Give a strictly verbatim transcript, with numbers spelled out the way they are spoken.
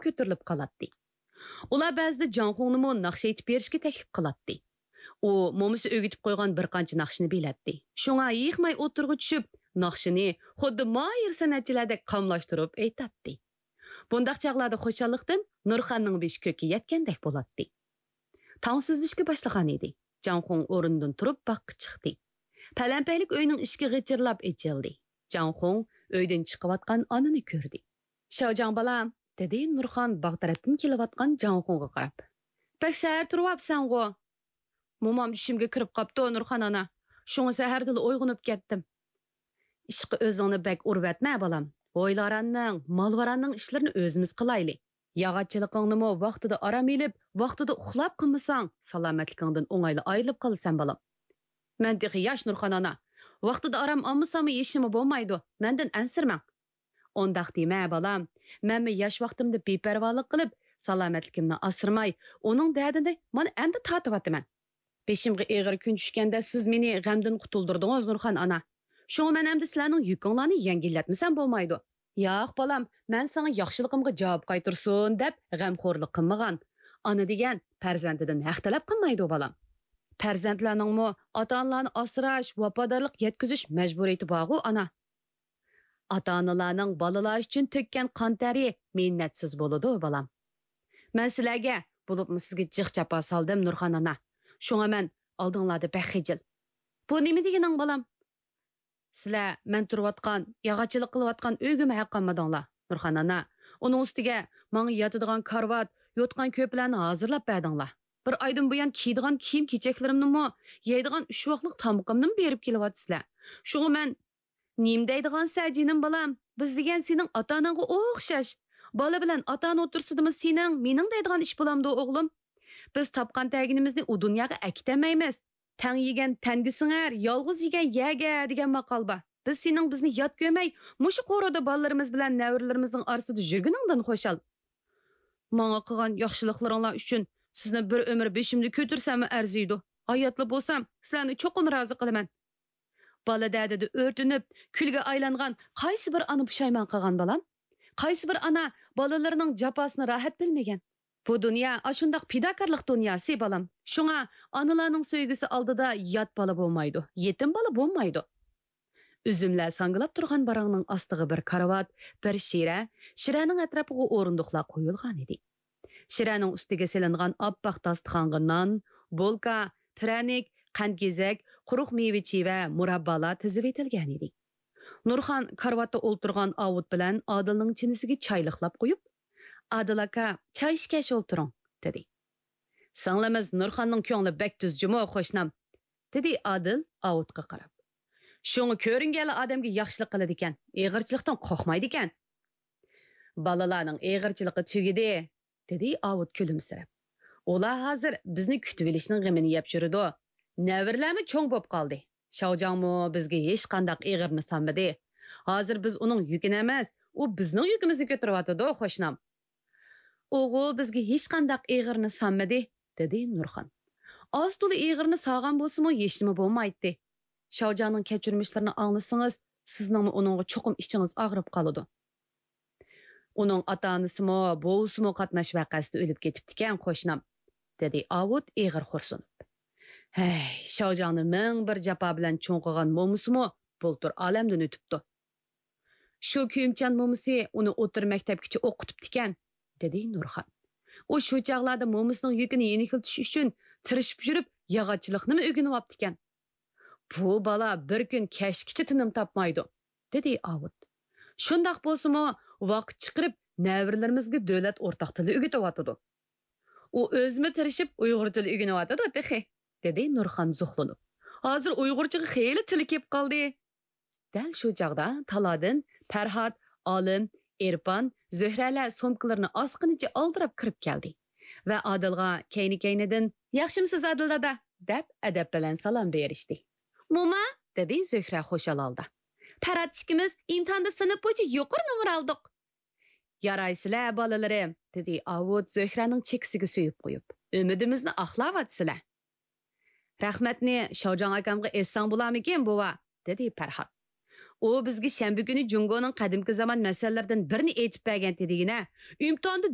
كۆتۈرۈلۈپ قالاتتى. ئۇلار بەزىدە جاڭخۇڭنىمۇ ناخشا ئېيتىپ بېرىشكە تەكلىپ قىلاتتى. ئۇ مومىسى ئۆگىتىپ قويغان بىر قانچە ناخشىنى بىلەتتى. شۇڭا ھېيىقماي ئوتتۇرىغا چۈشۈپ، ناخشىنى خۇددى ماھىر سەنئەتچىلەردەك قاملاشتۇرۇپ ئېيتاتتى. بۇنداق چاغلاردا خۇشاللىقتىن نۇرخاننىڭ بېشى كۆككە يەتكەندەك بولاتتى. تاڭ سۈزۈلۈشكە باشلىغان ئىدى. جاڭخۇڭ ئورنىدىن تۇرۇپ باغقا چىقتى. پەلەمپەيلىك ئۆينىڭ ئىشىكى غىچىرلاپ ئېچىلدى. جاڭخۇڭ ئۆيدىن چىقىۋاتقان ئانىنى كۆردى. «شاۋجاڭ بالام»، دېدى نۇرخان باغ تەرەپتىن كېلىۋاتقان جاڭخۇڭغا قاراپ. «بەك سەھەر تۇرۇۋاپسەنغۇ؟» «مومام چۈشۈمگە كىرىپ قاپتۇ، نۇرخان ئانا. شۇڭا سەھەردىلا ئويغىنىپ كەتتىم.» «ئىشقا ئۆزۈڭنى بەك ئۇرۇۋەتمە، بالام. ھويلاراننىڭ، مالۋاراننىڭ ئىشلىرىنى ئۆزىمىز قىلايلى. ياغاچچىلىقىڭنىمۇ ۋاقتىدا ئارام ئېلىپ، ۋاقتىدا ئۇخلاپ قىلمىساڭ، سالامەتلىكىڭدىن ئوڭايلا ئايرىلىپ قالىسەن، بالام.» «مەن تېخى ياش، نۇرخان ئانا. ۋاقتىدا ئارام ئالمىساممۇ ھېچنېمە بولمايدۇ. مەندىن ئەنسىرىمەڭ.» «ئۇنداق دېمە، بالام. مەنمۇ ياش ۋاقتىمدا بىپەرۋالىق قىلىپ، سالامەتلىكىمنى ئاسرىماي، ئۇنىڭ دەردىنى مانا ئەمدى تارتىۋاتىمەن. بېشىمغا ئېغىر كۈن چۈشكەندە سىز مېنى غەمدىن قۇتۇلدۇردىڭىز، نۇرخان ئانا. شۇڭا مەن ئەمدى سىلەرنىڭ يۈكۈڭلارنى يەڭگىللەتمىسەم بولمايدۇ.» «ياق، بالام، مەن ساڭا ياخشىلىقىمغا جاۋاب قايتۇرسۇن دەپ غەمخورلۇق قىلمىغان. ئانا دېگەن پەرزەنتىدىن ھەق تەلەپ قىلمايدۇ، بالام.» «پەرزەنتلەرنىڭمۇ ئاتا-ئانىلارنى ئاسراش، ۋاپادارلىق يەتكۈزۈش مەجبۇرىيىتى بارغۇ، ئانا.» «ئاتا-ئانىلارنىڭ بالىلار ئۈچۈن تۆككەن قان تەرى مىننەتسىز بولىدۇ، بالام.» «مەن سىلەرگە، بولۇپمۇ سىزگە جىق جاپا سالدىم، نۇرخان ئانا. شۇڭا مەن ئالدىڭلاردا بەك خىجىل.» «بۇ نېمە دېگىنىڭ، بالام؟ سىلەر مەن تۇرۇۋاتقان، ياغاچچىلىق قىلىۋاتقان ئۆيگىمۇ ھەق قالمىدىڭلار، نۇرخان ئانا. ئۇنىڭ ئۈستىگە ماڭا ياتىدىغان كارىۋات، يوتقان-كۆرپىلەرنى ھازىرلاپ بەردىڭلار. بىر ئايدىن بۇيان كىيىدىغان كىيىم-كېچەكلىرىمنىمۇ، يەيدىغان ئۈچ ۋاقلىق تامىقىمنىمۇ بېرىپ كېلىۋاتىسىلەر. شۇڭا مەن» «نېمە دەيدىغانسەن، جېنىم بالام؟ بىز دېگەن سېنىڭ ئاتا-ئاناڭغا ئوخشاش. بالا بىلەن ئاتا-ئانا ئوتتۇرىسىدىمۇ سېنىڭ، مېنىڭ دەيدىغان ئىش بولامدۇ، ئوغلۇم؟ بىز تاپقان-تەگىنىمىزنى ئۇ دۇنياغا ئەكېتەلمەيمىز. تەڭ يېگەن تەنگە سىڭەر، يالغۇز يېگەن يەگە دېگەن ماقال بار. بىز سېنىڭ بىزنى يات كۆرمەي، مۇشۇ قورۇدا بالىلىرىمىز بىلەن نەۋرىلىرىمىزنىڭ ئارىسىدا يۈرگىنىڭدىن خۇشال. ماڭا قىلغان ياخشىلىقلىرىڭلار ئۈچۈن سىزنى بىر ئۆمۈر بېشىمدا كۆتۈرسەممۇ ئەرزىيدۇ. ھاياتلا بولسام، سىلەرنى چوقۇم رازى قىلىمەن.» بالا دەردىدە ئۆرتىنىپ، كۈلگە ئايلانغان قايسى بىر ئانا پۇشايمان قىلغان، بالام؟ قايسى بىر ئانا بالىلىرىنىڭ جاپاسىنى راھەت بىلمىگەن؟ بۇ دۇنيا ئاشۇنداق پىداكارلىق دۇنياسى، بالام. شۇڭا ئانىلارنىڭ سۆيگۈسى ئالدىدا يات بالا بولمايدۇ، يېتىم بالا بولمايدۇ. ئۈزۈملەر ساڭگىلاپ تۇرغان باراڭنىڭ ئاستىغا بىر كارىۋات، بىر شىرە، شىرەنىڭ ئەتراپىغا ئورۇندۇقلار قويۇلغان ئىدى. شىرەنىڭ ئۈستىگە سېلىنغان ئاپئاق داستىخانغا نان، بولكا، پىرەنىك، قەنت-گېزەك، قۇرۇق مېۋە-چىۋە، مۇراببالار تىزىۋېتىلگەن ئىدى. نۇرخان كارىۋاتتا ئولتۇرغان ئاۋۇت بىلەن ئادىلنىڭ چىنىسىگە چاي لىقلاپ قويۇپ، «ئادىل ئاكا، چاي ئىچكەچ ئولتۇرۇڭ» دېدى. «سىڭلىمىز نۇرخاننىڭ كۆڭلى بەك تۈز جۇمۇ، قوشنام» دېدى ئادىل ئاۋۇتقا قاراپ. «شۇڭا كۆرۈنگەنلا ئادەمگە ياخشىلىق قىلىدىكەن، ئېغىرچىلىقتىن قورقمايدىكەن.» «بالىلارنىڭ ئېغىرچىلىقى تۈگىدى» دېدى ئاۋۇت كۈلۈمسىرەپ. «ئۇلار ھازىر بىزنى كۈتۈۋېلىشنىڭ غېمىنى يەپ يۈرىدۇ. نەۋرىلەرمۇ چوڭ بوپ قالدى. شاۋجاڭمۇ بىزگە ھېچقانداق ئېغىرنى سالمىدى. ھازىر بىز ئۇنىڭ يۈكىنى ئەمەس، ئۇ بىزنىڭ يۈكىمىزنى كۆتۈرۈۋاتىدۇ، قوشنام.» «ئۇغۇ بىزگە ھېچقانداق ئېغىرنى سالمىدى» دېدى نۇرخان. «ئاز-تولا ئېغىرنى سالغان بولسىمۇ ھېچنېمە بولمايتتى. شاۋجاڭنىڭ كەچۈرمىشلىرىنى ئاڭلىسىڭىز، سىزنىڭمۇ ئۇنىڭغا چوقۇم ئىچىڭىز ئاغرىپ قالىدۇ.» «ئۇنىڭ ئاتا-ئانىسىمۇ، بوۋىسىمۇ قاتناش ۋەقەسىدە ئۆلۈپ كېتىپتىكەن، قوشنام» دېدى ئاۋۇت ئېغىر خورسۇنۇپ. «ھەي، شاۋجاڭنى مىڭ بىر جاپا بىلەن چوڭ قىلغان مومىسىمۇ بۇلتۇر ئالەمدىن ئۆتۈپتۇ. شۇ كۆيۈمچان مومىسى ئۇنى ئوتتۇرا مەكتەپكىچە ئوقۇتۇپتىكەن» دېدى نۇرخان. «ئۇ شۇ چاغلاردا مومىسىنىڭ يۈكىنى يېنىكلىتىش ئۈچۈن تىرىشىپ يۈرۈپ، ياغاچچىلىقنىمۇ ئۆگىنىۋاپتىكەن. بۇ بالا بىر كۈن كەچكىچە تىنىم تاپمايدۇ» دېدى ئاۋۇت. «شۇنداق بولسىمۇ، ۋاقىت چىقىرىپ نەۋرىلىرىمىزگە دۆلەت ئورتاق تىلى ئۆگىتىۋاتىدۇ. ئۇ ئۆزىمۇ تىرىشىپ ئۇيغۇر تىلى ئۆگىنىۋاتىدۇ تېخى» دېدى نۇرخان زوقلىنىپ. «ھازىر ئۇيغۇرچىغا خېلى تىلى كېلىپ قالدى.» دەل شۇ چاغدا تالادىن پەرھات، ئالىم، ئېرپان، زۆھرەلەر سومكىلىرىنى ئاسقىنىچە ئالدىراپ كىرىپ كەلدى ۋە ئادىلغا كەينى-كەينىدىن، «ياخشىمسىز، ئادىل دادا؟» دەپ ئەدەپ بىلەن سالام بېرىشتى. «موما!» دېدى زۆھرە خۇشال ھالدا. «پەرھات ئىككىمىز ئىمتىھاندا سىنىپ بويىچە يۇقىرى نومۇر ئالدۇق.» «يارايسىلەر، بالىلىرىم!» دېدى ئاۋۇت زۆھرەنىڭ چېكىسىگە سۆيۈپ قويۇپ. «ئۈمىدىمىزنى ئاقلاۋاتىسىلەر.» «رەھمەتنى شاۋجاڭ ئاكامغا ئېيتساڭ بولارمىكىن، بوۋا؟» دېدى پەرھات. «ئۇ بىزگە شەنبە كۈنى جۇڭگونىڭ قەدىمكى زامان مەسەللىرىدىن بىرنى ئېيتىپ بەرگەنتى دېگىنە، ئىمتىھاندا